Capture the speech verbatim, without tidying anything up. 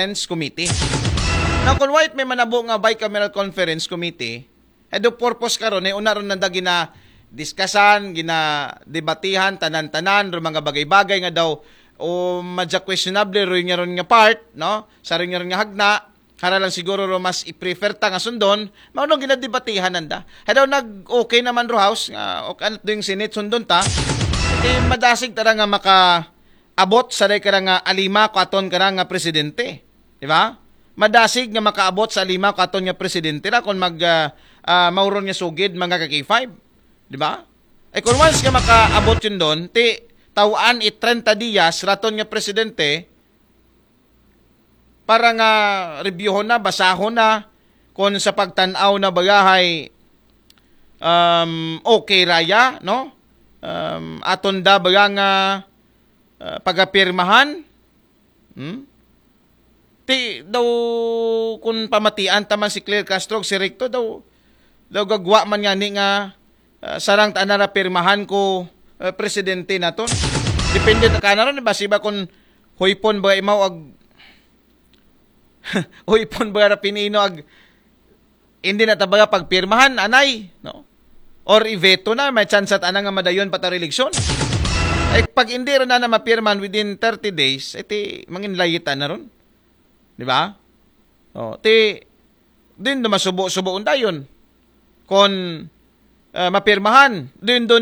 Conference Committee. Now, kung why it may manabo nga bicameral conference committee, eh, do purpose karon, eh, una ron nanda gina-discussan, gina-debatihan, tanan-tanan, ro mga bagay-bagay nga daw, o madya questionable, ro nga ron nga part, no? Sa ron nga ron nga hagna, para lang siguro ro mas i-prefer ta nga sundon, mao nung ginadebatihan nanda. Hadaw nag-okay naman ro House, nga, o kanat do yung Senate, sundon ta, eh, madasig tara nga maka-abot sa day kara nga alima ko aton kara nga presidente. Di ba? Madasig nga makaabot sa alima ko aton nga presidente ra kung mag, ah, ah, mauron nga sugid, mga ka-K five. Di ba? Eh, kung once nga makaabot yun doon, ti tawaan i trenta diyas raton nga presidente para nga reviewon na, basahon na, kung sa pagtanaw na bagahay, um, okay raya, no? Um, aton da baga nga, uh, pagapirmahan, hmm? Ti daw, kung pamatian taman si Claire Castro, si Recto daw, daw gagwa man nga ni nga, ah, sarang ta na pirmahan ko, ah, presidente naton. Depende ta kana ron, basi ba kung huypon ba imaw ag, huypon ba ra pinino ag, hindi na ta baga pagpirmahan, anay, no? Or i-veto na, may chance at ana nga madayon pa ta eleksyon. Ay, pag hindi ron na, na mapirmahan within thirty days, iti mangin layita na ron. Di ba? O, ti, din do masubo-subo undayon. Kon, ah, mapirmahan, din do